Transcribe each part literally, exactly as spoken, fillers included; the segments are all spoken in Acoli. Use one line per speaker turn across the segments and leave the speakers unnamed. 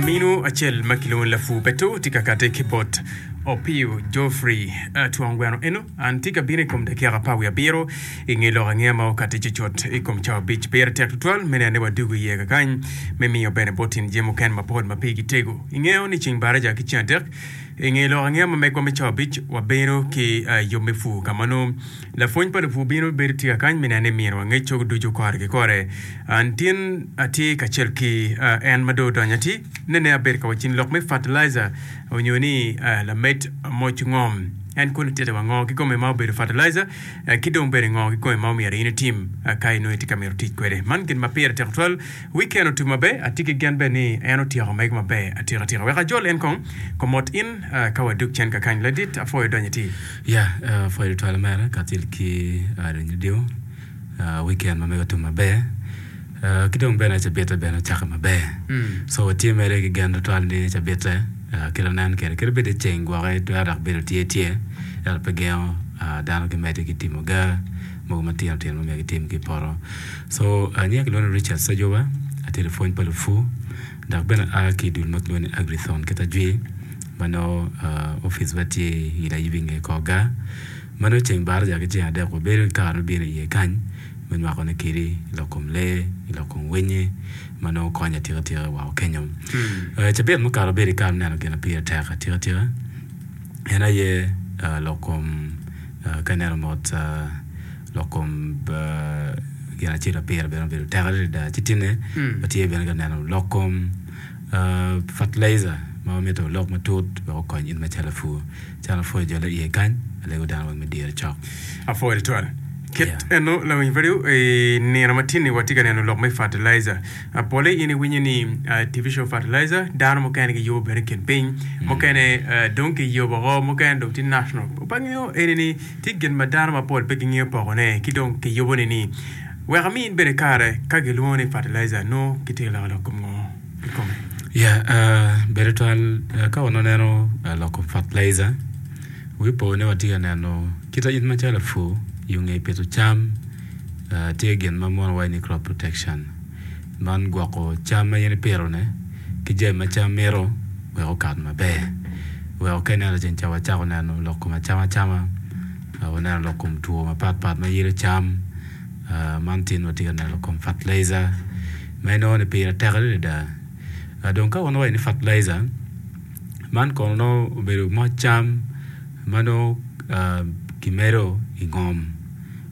Laminu acel ma kilwongo ni Lapur Peto tye ka kati ki bot Opio Geoffrey Twong Gweno eno an tye ka bino i kom dakika apar wiye abiro i nge lok angeya ma okati cucut i kom cawa abic. Pire tek tutwal me neno ni wadugo iye kakany me miyo bene bot tyen jami mukene mapol ma pigi tego. Ingeyo ni ceng baraja ki ceng adek i nge lok angeya ma megwa me cawa abic wabedo ki yub me pur ka ma nongo Lapwony pa lupur bino bedo tye kakany me neno ni myero wangec cogo ducu kore ki kore. An tin atye kacel ki en ma dong odonyo atir nene abedo ka wacci ni lok me fertilizer onyo ni lamed moc ngom. En kono tite wa ngo kikome ma obedo fertilizer ki dong bene ngo kikome ma omyero in itim ka inongo itye ka mito tic kwede. Man gin ma pire tek tutwal. Weekend otum maber, atye ki gen bene ni en otyeko mege maber atika tika. Wek ajol en kong komot in ka wadug cen kakany. Ladit apwoyo donyo atir.
Ya, apwoyo tutwal omera kacel ki radio weekend ma mege otum maber ki dong bene cabite bene ocakke maber. So watye mere ki gen tutwal ni cabite kit anen kwede kadi bed ni ceng gwoki twero dok bedo tye tye ento pe gengo dano gimedde ki timo ga mogo matino tino ma myero gitim ki i poto. So nyinga kilwongo ni Richard Sejoba atye lapwony pa lupur dok bene aa ki i dul ma kilwongo ni Agrithon kit ajwi. Ma nongo opic wa tye i Layibi nge kor gar. Ma nongo ceng baraja ki ceng adek wabedo ki kare me bino iye kany me nywako ne kedi i lok kom lee, i lok kom winyi ma nongo konyo atika tika woko kenyo. Cabit mukato abedo ki kare me neno gin ma pire tek atika tika en aye lok kom ka ineno mot lok kom gin acel ma pire bene obedo tek adada ci tinne watye bene ka neno lok kom Fertilizer ma wamito olok matut wek okony in macalo lapur. Calo apwoyo jole iye kany, alego dano weng me dire cok.
Apwoyo tutwal. Kit eno lawiny radio i nino ma tye ni watye ka neno lok me fertilizer. Pole in iwinyo ni artificial fertilizer dano mukene giyubo bene i kin piny, mukene dong kiyubo oko, mukene dong tye national. Pe angeyo eni ni tye gin ma dano mapol pe gingeyo pokone ki dong kiyubo ni ni. Wek amiin bene kare ka gilwongo ni fertilizer nongo gitye ka loko lok kom ngo kikome?
Ya, ber tutwal ka wan waneno lok kom fertilizer, wi po ni watye ka neno kit in macalo lapur i nge pito cam tye gin ma mono waco ni crop protection man gwoko cam ma in ipito ne ki jami ma cam mito wek okat maber weko ka ineno ceng ca wacako neno lok kom acama acama waneno lok kom two mapat pat ma yelo cam. Man tin watye ka neno kom fertilizer ma inongo ni pire tek adada. Dong ka wan wawaco ni fertilizer man kono nongo obedo moc cam ma nongo kimedo i ngom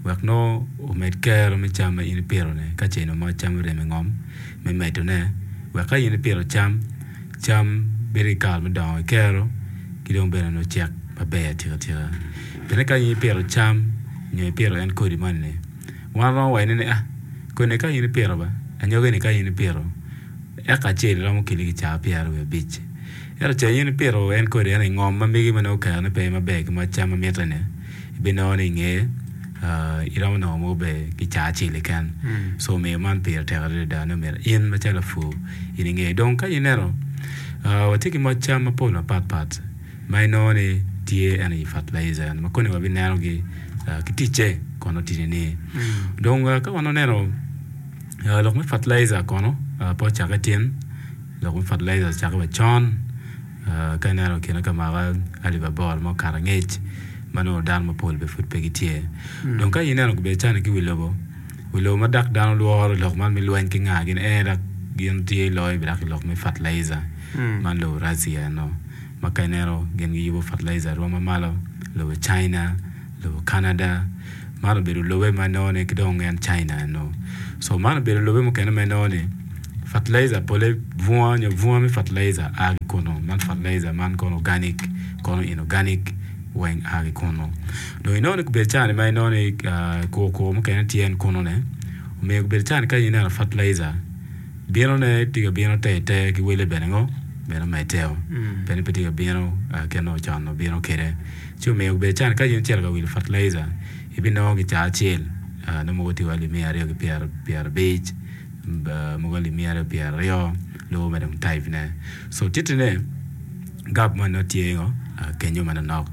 wek nongo omed kero me cam ma in ipito-ni ka ce nongo moc cam orem i ngom me medone wek ka in ipito cam, cam bedo ki kare me dongo ki kero ki dong bene nongo cek maber atika tika. Pien ka in ipito cam nyo ipito en kodi moni-ni, wan romo waco ni ah kodi-ni ka in ipito ba anyogi-ni ka in ipito eka acel romo keli kicaa pyeraryo wiye abic ento ca in ipito en kodi eni ingom ma megi ma nongo kerone pe maber ki moc cam ma mitte-ni ibinongo ni inge iromo nongo mogo bene kicaa acel keken so omiyo man pire tek adada ni omyero in macalo lapur in inge dong ka ineno watye ki moc cam mapol mapatpat ma inongo ni tye en aye fertilizer ma koni wabinenogi ki ticce kono tye ni dong ka wan waneno lok me fertilizer kono pe ocakke tin lok me fertilizer ocakke wa con ka ineno kine ka mwaka alip aboro ma okato angec ma nongo dano mapol bene pud pe gitye dong ka ineno gubedo cani ki wi lobo wi lobo ma dok dano lworo lok man me lweny ki nga gin en dok gin tye loyo dok i lok me fertilizer man lobo Russia eno. Ma ka ineno gin giyubo fertilizer arwom ma malo, lobo China, lobo Canada, man obedo lobe ma inongo ni ki dong en China eno. So man obedo lobe mukene ma inongo ni fertilizer pole bunga nyo bunga me fertilizer a ki kunu. Man fertilizer man kono organic kono inorganic weng a ki kunu. Dong inongo ni obedo cani ma inongo ni kur kur mukene tye en kunu ne omiyo obedo cani ka in ineno fertilizer Binone tye ka bino te te ki wele bene ngo bene omedeo pien ni pe tye ka bino kit ma ocon obino kwede ci omiyo obedo calo ka in icito ka wilo fertilizer ibinongo ki caa acel nongo mogo tye wa alip miya aryo ki pyerabic mogo alip miya aryo pyeraryo lubo mere dong type ne so titine gap mo nongo tye ngo kenyo manonok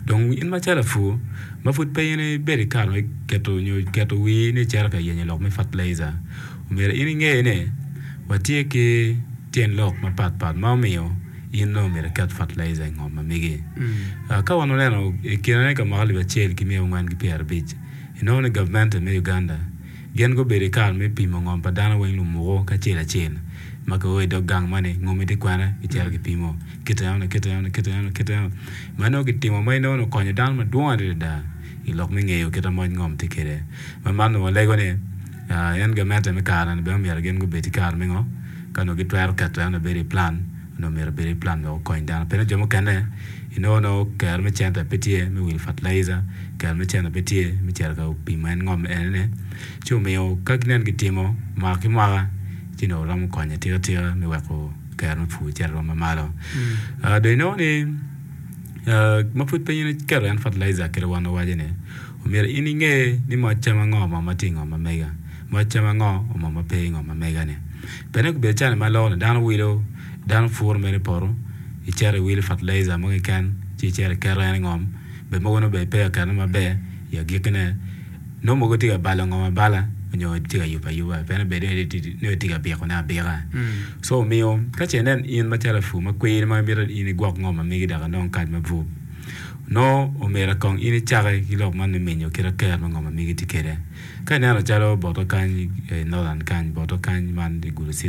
dong in macalo lapur ma pud pe in ibedo ki kare me keto nyo keto wii ni icito ka yenyo lok me fertilizer Omyero in inge ni watye ki tyen lok mapatpat ma omiyo in nongo myero iket fertilizer i ngom ma megi. Ka wan waneno i kine ka mwaka alip acel ki miya angwen ki pyerabic, inongo ni gavmente me Uganda gin gubedo i kare me pimo ngom pa dano weng lumuku kacel acel ma kio i dog gang moni ngomi tye kwene gicito gipimo kite enoni kite enoni kite enoni kite enoni ma nongo gitimo ma inongo ni okonyo dano madwong adada i lok me ngeyo kit ma moc ngom tye kwede ma man nongo walego ni en gamente me kare-ni bene myero gin gubed ki kare me ngo ka nongo gitwero keto en obedo i plan onongo myero obed i plan wek okony dano pien jo mukene inongo nongo kero me cente pe tye me wilo fertilizer kero me cente pe tye me cito ka pimo en ngom enoni ci omiyo ka ginen gitimo mwaka ki mwaka ci nongo romo konyo atika tika me weko kero me pur cito rwom mamalo dong inongo ni ma pud pe in iketo en fertilizer kit ma wan wawaco ni omyero in inge ni moc cam ango ma tye i ngom ma mega moc cam ango ma pe i ngom ma mega-ni pien obedo calo ma loko ni dano wilo dano puro mere i poto icito iwilo fertilizer mo keken ci icito iketo en i ngom bene mogo nongo bene pe oketone maber i agikkine nongo mogo tye ka balo ngom abala nyo tye ka yubo ayuba pien obedo ni nongo tye ka bikone abika so omiyo ka ce inen in macalo lapur ma kwiri ma imito ni in igwok ngom ma megi dok inong kac mabup nongo omyero kong in icake ki lok man me menyo kit ker me ngom ma megi tye kwede ka ineno calo bota kany i northern kany bota kany man i Gulu city.